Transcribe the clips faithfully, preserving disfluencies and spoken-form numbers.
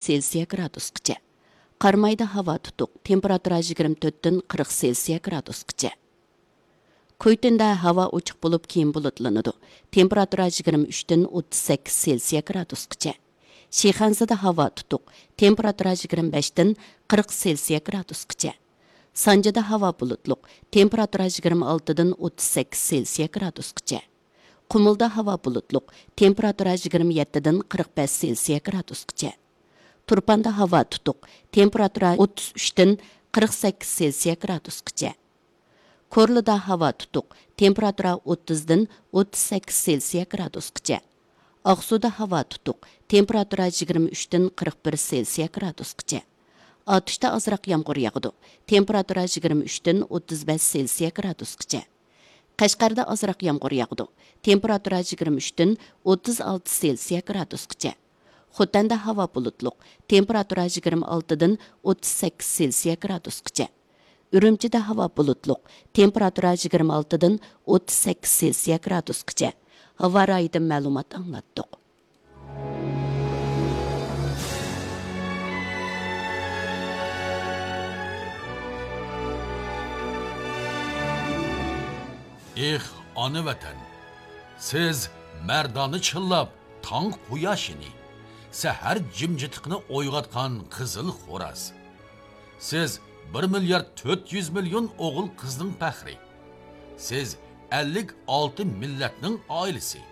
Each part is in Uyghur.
سېلسىيە گرادۇسقىچە. قارامايدا ھاۋا تۇتۇق، تېمپېراتۇرا يىگىرمە تۆتتىن قىرىق سېلسىيە گرادۇسقىچە. كۇيتىندە ھاۋا ئوچۇق بولۇپ، كېيىن بۇلۇتلىنىدۇ، تېمپېراتۇرا يىگىرمە ئۈچتىن ئوتتۇز سەككىز سېلسىيە گرادۇسقىچە. شىخەنزىدە ھاۋا تۇتۇق، تېمپېراتۇرا يىگىرمە بەشتىن قىرىق سېلسىيە گرادۇسقىچە. سانجىدا ھاۋا بۇلۇتلۇق، تېمپېراتۇرا يىگىرمە ئالتىدىن ئوتتۇز سەككىز سېلسىيە گرادۇسقىچە. قۇمۇلدا ھاۋا بۇلۇتلۇق، تېمپېراتۇرا يىگىرمە يەتتىدىن قىرىق بەش سېلسىيە گرادۇسقىچە. تۇرپاندا ھاۋا تۇتۇق، تېمپېراتۇرا ئوتتۇز ئۈچتىن قىرىق سەككىز سېلسىيە گرادۇسقىچە. كورلىدا ھاۋا تۇتۇق، تېمپېراتۇرا ئوتتۇزدىن ئوتتۇز سەككىز سېلسىيە گرادۇسقىچە. ئاقسۇدا ھاۋا تۇتۇق، تېمپېراتۇرا يىگىرمە ئۈچتىن قىرىق بىر سېلسىيە گرادۇسقىچە. ئاتۇشتا ئازراق يامغۇر ياغىدۇ، تېمپېراتۇرا يىگىرمە ئۈچتىن ئوتتۇز بەش سېلسىيە گرادۇسقىچە. قەشقەردە ئازراق يامغۇر ياغىدۇ، تېمپېراتۇرا يىگىرمە ئۈچتىن ئوتتۇز ئالتە سېلسىيە گرادۇسقىچە. خوتەندە ھاۋا بۇلۇتلۇق، تېمپېراتۇرا يىگىرمە ئالتىدىن ئوتتۇز سەككىز سېلسىيە گرادۇسقىچە. ئۈرۈمچىدە ھاۋا بۇلۇتلۇق، تېمپېراتۇرا يىگىرمە ئالتىدىن ئوتتۇز سەككىز سېلسىيە گرادۇسقىچە. ھاۋا رايىدىن مەلۇمات ئاڭلاتتۇق. ئېھ، ئانا ۋەتەن! سىز مەردانە چىللاپ تاڭ قۇياشىنى، سەھەر جىمجىتلىقىنى ئويغاتقان قىزىل خوراز. سىز بىر مىليارد تۆت يۈز مىليون ئوغۇل قىزنىڭ پەخرى. سىز ئەللىك ئالتە مىللەتنىڭ ئائىلىسى.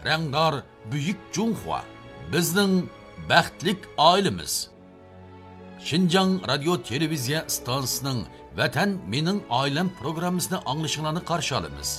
رەڭدار بۈيۈك جۇڭخۇا، بىزنىڭ بەختلىك ئائىلىمىز. شىنجاڭ رادىيو تېلېۋىزىيە ئىستانسىسىنىڭ ۋەتەن مېنىڭ ئائىلەم پروگراممىسىنى ئاڭلىشىڭلارنى قارشى ئالىمىز.